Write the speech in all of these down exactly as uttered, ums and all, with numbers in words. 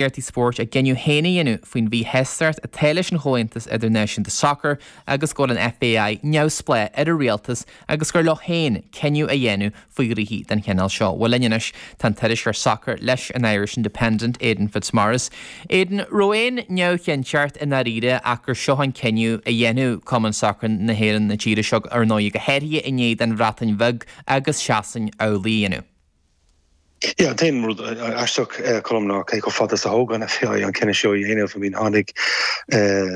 Iartaí spóirt a gcinneadh féin a dhéanamh faoin mhíshástacht atá leis an Chomhaontas Idirnáisiúnta Sacair agus go bhfuil an F A I neamhspleách ar an rialtas agus gur leo féin cinneadh a dhéanamh faoi ghnoithí den chineál seo. Bhuel, linn anois tá an t-iriseoir sacair leis an Irish Independent, Aidan Fitzmaurice. Aidan, raibh aon neamhchinnteacht i ndáiríre ach gur seo an cinneadh a dhéanamh Cumann Sacair na hÉireann na tíre seo, ar ndóigh, go háirithe i ndiaidh don Bhreatain Bheag agus Sasain amhlaidh a dhéanamh? Yeah, an t-aon rud aisteach, Colm, ná cé chomh fada is a thóg an F A I an cinneadh seo a dhéanamh. I mean, tháinig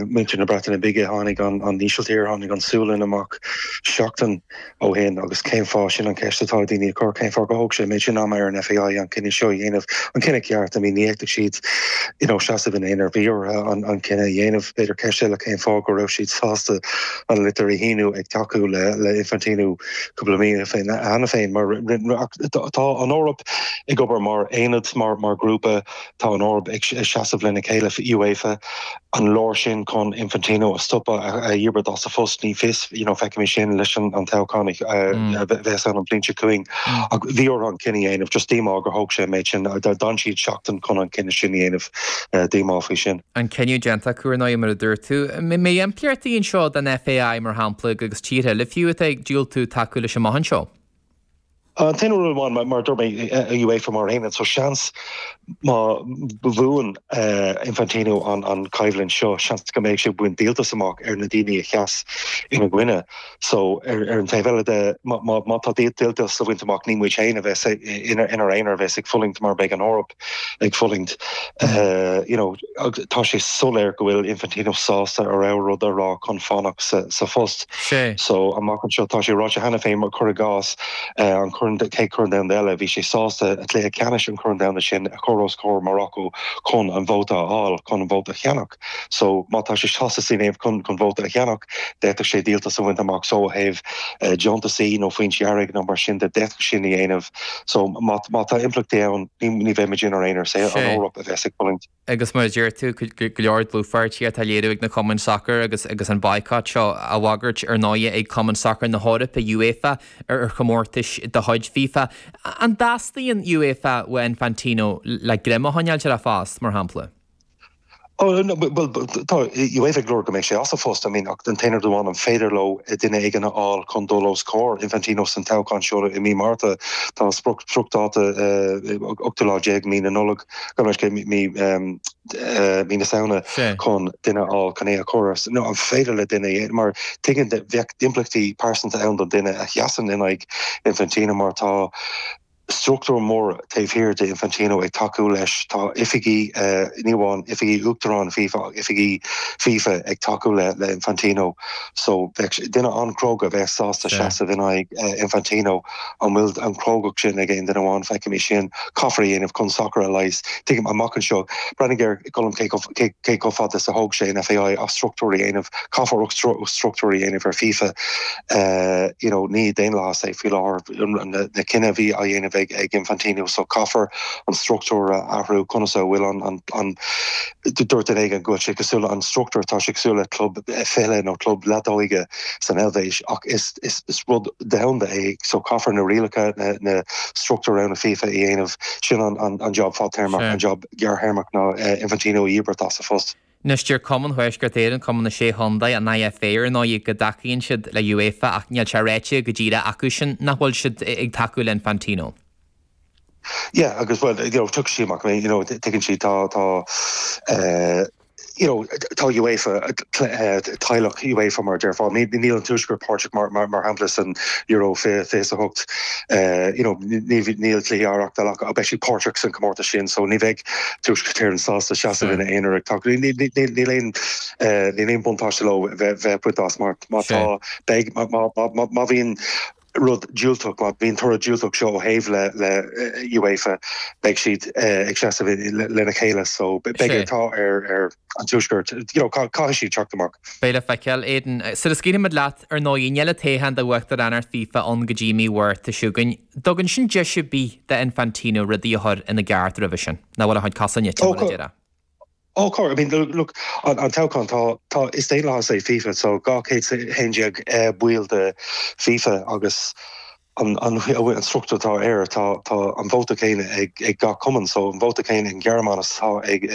muintir na Breataine Bige, tháinig an an Ísiltír, tháinig an Sualainn amach seachtain ó shin. Agus cén fáth? Sin an ceist atá daoine ag cur, cén fáth gur thóg sé méid sin ama ar an F A I an cinneadh seo a dhéanamh, an cinneadh ceart? I mean, ní fhéadfadh siad you know, seasamh in aonar, bhí orthu an, an cinneadh a dhéanamh. B'fhéidir ceist eile, cén fáth go raibh siad sásta an litir a shíniú ag tacú le le Infantino cúpla mí féin cheana féin? Mar tá an Eoraip ag obair mar aonad, mar mar grúpa, tá an Eoraip ag seasamh lena chéile. UEFA an leor sin chun Infantino a stopadh, a dhíbirt as a phost? Ní fios you know, feicfimid sin leis an an toghchán a bheas an bhliain seo chugainn. Ach bhí orthu an cinneadh a dhéanamh. Just díomá gur thóg sé méid sin, d'fhan siad seachtain chun an cinneadh sin a dhéanamh, díomá faoi sin. An cinneadh déanta acu, ar ndóigh, mar a dúirt tú. Mbeidh impleachtaí anseo don F A I, mar shampla, agus tíortha eile fiú atá ag diúltú tacú leis amach anseo? An t-aon rud amháin, mar dúirt mé, UEFA mar aonad, so seans má bhuann Infantino an an coimhlint seo, seans go mbeidh sé ag baint díoltas amach ar na daoine a sheas ina gcoinne. So ar ar an taobh eile de, má má tá díoltas le baint amach, ní muid féin a bheas ina inár aonar a bheas ag fulaingt, mar beidh an Eoraip ag fulaingt. you know tá sé soiléir go bhfuil Infantino sásta a rogha rud a rá chun fanacht sa sa phost. So amach anseo, tá sé ráite cheana féin, mar cuir i gcás an Corn, chéad Chorn Domhanda eile, bhí sé sásta a cluiche ceannais an Chorn Domhanda sin a chur os comhair Morocco chun an vóta a fháil, chun an vóta a cheannach. So má tá sé sásta sin chun chun vóta a cheannach, d'fhéadfadh sé díoltas a bhaint amach. So ó thaobh deontasaí nó foinsí airgid nó mar sin de, d'fhéadfadh sin a dhéanamh. So má má tá impleachtaí ann, ní bheidh muid inár aonar, sé an Eoraip a bheas ag fulaingt. Agus mar a deir tú, go leor dlúthpháirtíocht á léiriú ag na cumainn sacair agus agus an boycott seo á bhagairt, ar ndóigh, ag Cumann Sacair na hEorpa, UEFA, ar ar chomórtais de chuid FIFA. An dteastaíonn UEFA ó Infantino le greim a choinneáil ar a phost, mar shampla? Oh, no, well, tá UEFA ag lorg go mbeidh sé as a phost. I mean, ach den t-aon rud amháin, an féidir leo duine éigin a fháil chun dul os comhair Infantino san toghchán seo i mí Márta? Tá spriocdháta ochtú lá déag mí na Nollag, go mí mí na Samhna, chun duine a fháil chun é a chur. No, an féidir le duine? Mar tuigeann bheadh impleachtaí pearsanta ann don duine a sheasann in aghaidh Infantino, mar tá struchtúr mór taobh thiar de Infantino ag tacú leis. Tá oifigí, ní amháin oifigí uachtarán FIFA, oifigí FIFA ag tacú le le Infantino. So bheadh duine an-chróga bheith sásta seasamh in aghaidh Infantino. An bhfuil an chrógacht sin ag aon duine amháin? Feicfimid sin. Caithfear a dhéanamh chun sacar a leigheas. Tuigim amach anseo, breathnaigh ar, Colm, cé cé chomh fada is a thóg sé an F A I as struchtúr a dhéanamh. Caithfear struchtúr a dhéanamh ar FIFA. you know ní daonlathas é faoi láthair na cinntí a bhí á dhéanamh ag ag Infantino, so caithfear an struchtúr a athrú. Conas a bhfuil an an an dúirt duine éigin go bhfuil sé cosúil, an struchtúr, tá sé cosúil le club fichille nó club leadóige san Eilvéis, ach is is is rud domhanda é, so caithfear na rialacha, na na struchtúr ann a FIFA a dhéanamh. Sin an an an job fadtéarmach. An job gearrthéarmach ná Infantino a dhíbirt as a phost. Anois deir Cumann Thuaisceart Éireann, Cumann na Sé Chontae, an I F A, ar ndóigh, go dtacaíonn siad le UEFA, ach níl sé ráite go díreach acu sin nach bhfuil siad ag tacú le Infantino. Yeah, agus well, you know, tugann sí amach, you know, tuigeann sí tá tá uh, you know, tá UEFA, teaghlach UEFA, mar déarfá, níl an Tuaisceart páirteach, mar mar mar shampla, san Euro fiche a hocht. you know, níl cluichí á reáchtáil acu, beidh siad páirteach san comórtas sin, so ní bheidh Tuaisceart Éireann sásta seasamh ina aonar ag tacú. Níl aon níl aon buntáiste leo bheith bheith as mar má tá beidh má bhíonn rud diúltach, má bhíonn toradh diúltach seo ó thaobh le le UEFA, beidh siad ag seasamh lena chéile, so beidh atá ar ar an Tuaisceart you know, caithfidh siad teacht amach. Beidh le feiceáil, Aidan. Sula scaoilfimid leat, ar ndóigh, níl an toghchán d'uachtaránacht FIFA ann go dtí mí Mhárta seo chugainn. Dtugann sin deis ar bith d'Infantino rudaí a chur ina gceart roimhe sin, ná bhfuil a chuid cosa nite, mar a déarfá? Ó oh, I mean, look, an, an toghchán, tá tá is daonlathas é FIFA, so dhá chéad haon déag baill de FIFA agus an an an struchtúr atá air tá tá an vóta céanna ag ag gach cumann so an vóta céanna an Ghearmáin tá ag ag